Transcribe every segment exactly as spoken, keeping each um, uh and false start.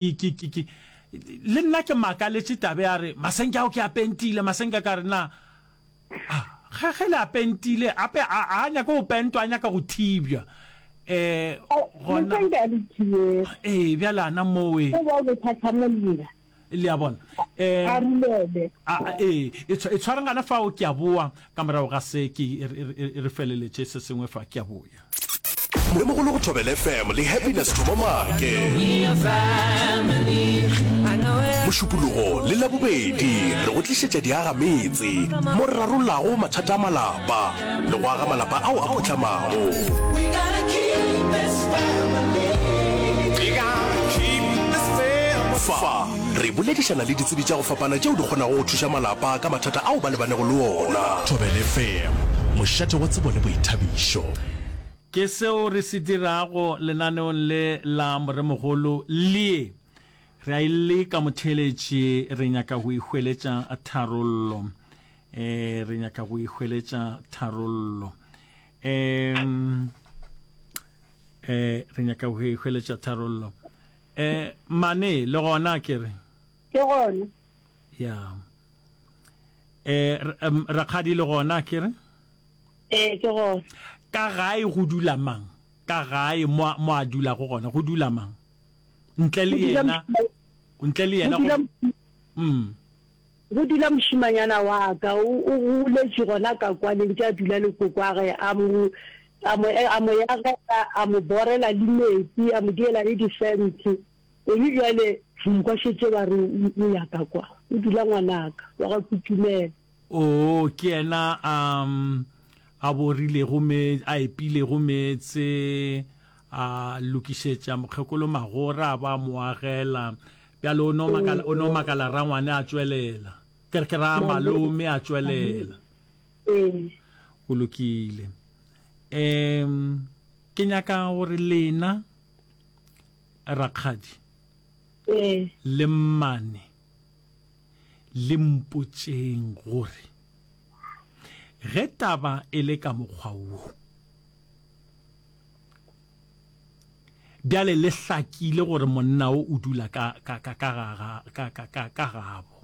Ke, ke, ke, le nna ke makaletše tabe a re, Masenke ao ke a pentile, masenke ka re, na, a, ge, ge le a pentile, ape a, a nyake go pentwa, a nyaka go thibja. Eh, gona. Masenke a le thibege. Ee, bjale ana mowe. Go ba o be thathamolla. Le a bona? Eh, A rulele. A, a, ee, e tshwa, e tshwarang gana fao, ke a boa, ka morago ga se, ke, re, re, re feleletše se sengwe fa, ke a boya. Moremogolo go Thobela F M le Happiness Thomo Maake. Mošupologo le Labobedi re go tlišetša diagametse mo re rarollago mathata a malapa le go aga malapa ao a phuhlamago. Fa re boledišana le ditsebi tša go fapana tšeo di kgonago go thuša malapa ka mathata ao ba lebanego le ona. Thobela F M, mošate wa tsebo le boithabišo. Ke seo re se dirago lenaneong le la Moremogolo Lie. Re a e leka, motheeletši, re nyaka go ihweletša tharollo. E, re nyaka go ihweletša tharollo. E, e, re nyaka go ihweletša tharollo. E, mane, le gona ke re. Ke gona. Ya. E, rakgadi le gona ke re. Ee, ke gona. Ka gae go dula mang? Ka gae mo a, mo a dulago gona go dula mang? Ntle le Go dula yena, ntle le go yena dula go, mm. Go dula mošemanyana wa ka, o, o goletše gona ka kwa, le ntše a dula le kokoage, a mo, a mo, a mo yagela, a mo borela le metsi, a mo diela le difense. Gomme bjale re mo kwa šetše ba re o, o ya ka kwa. O dula ngwanaka wa ga Kutumela. Oo, ke yena a, a borilego me, a epilego meetse, a lokišetša mokgekolo magora, a ba a mo agela. Bjale o no makala, o no makala rangwane a tšwelela. Ke re, ke ra malome a tšwelela. Ee. Go lokile. Um, ke nyaka gore lena, rakgadi, Ee. le mmane, Le mpotšeng gore, ge taba e le ka mokgwa wo, bjale le hlakile gore monna wo o dula ka, ka, ka, ka ga, ga, ka, ka, ka, ka gabo,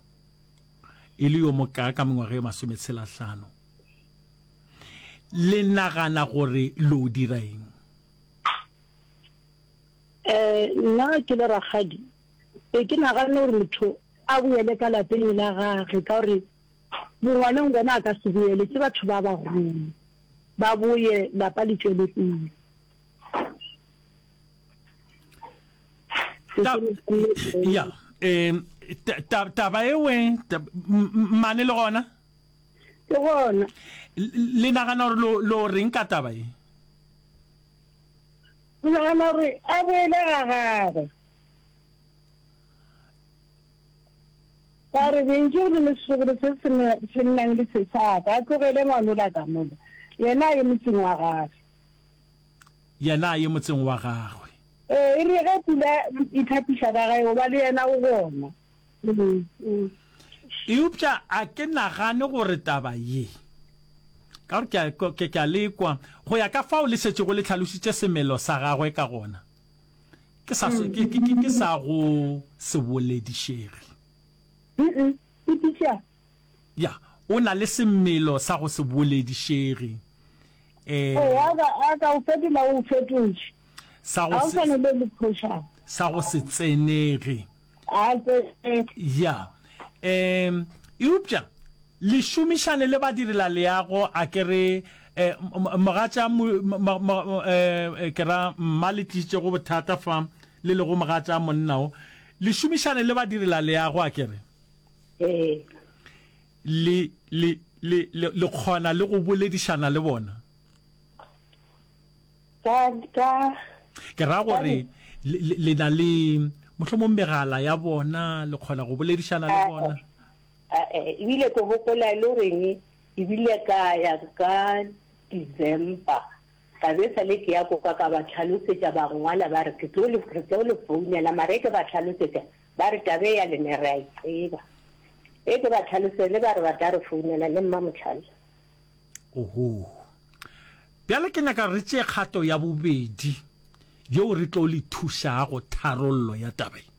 e le yo mokaa ka mengwaga e masometshela hlano. Le nagana gore lo dira eng? Eh, nna ke le rakgadi, be ke naganne gore motho a boele ka lapeng la gage, ka gore bongwaneng gona a ka se boele, ke batho ba bagolo, ba boye lapa le tšwele pele. Ta, ya, eh, ta, ta, taba ewe, ta, mmane le gona? Ke gona. Le nagana gore lo, lo reng ka taba ye? Ke nagana gore a boele ga gagwe. Ka re bentše o le le setlogolo se se se nnang le se sa ka, a tlogele ngwanola ka mola, yena a ye motseng wa gagwe. Yena a ye motseng wa gagwe. Ee, e re ge pula e thapiša ka gae, goba le yena o gona. Eupša a ke nagane gore taba ye, ka gore ke a, ke, ke a le kwa, go ya ka fao le šetšego le hlalošitše semelo sa gagwe ka gona, ke sa, ke, ke, ke, ke sa go se boledišege. Ya, o na le semelo sa go se boledišege. Eh, Ee, a ka, a ka o fetola o fetotše. Sa go se, sa le le phošang. Sa go se tsenege. A tsenege. Ya. Um, eupša le šomišane le badirelaleago, a ke re, eh, mogatša, eh, ke ra mma le tlišitšego bothata fa, le lego mogatša monna o, le šomišane le badirelaleago, a ke re. Ee. Le, le, le, le, le kgona le go boledišana le bona? Ka, ka. Ke ra gore le, le, le na le mohlomong megala ya bona, le kgona go boledišana le bona? Ae, ebile ke gopola e le goreng ebile ka ya ka December ka be sale ke ya ko ka ka ba tlhalosetša ba ngwala ba re ke tlo le re tlo le founela mara e ke ba tlhalosetša ba re tabe ya lena re a e tseba e ke ba tlhalosele ba re ba tla re founela le mma Motlhale. Oho. Bjale ke nyaka re tšee kgato ya bobedi yeo re tlo le thušago tharollo ya taba ye.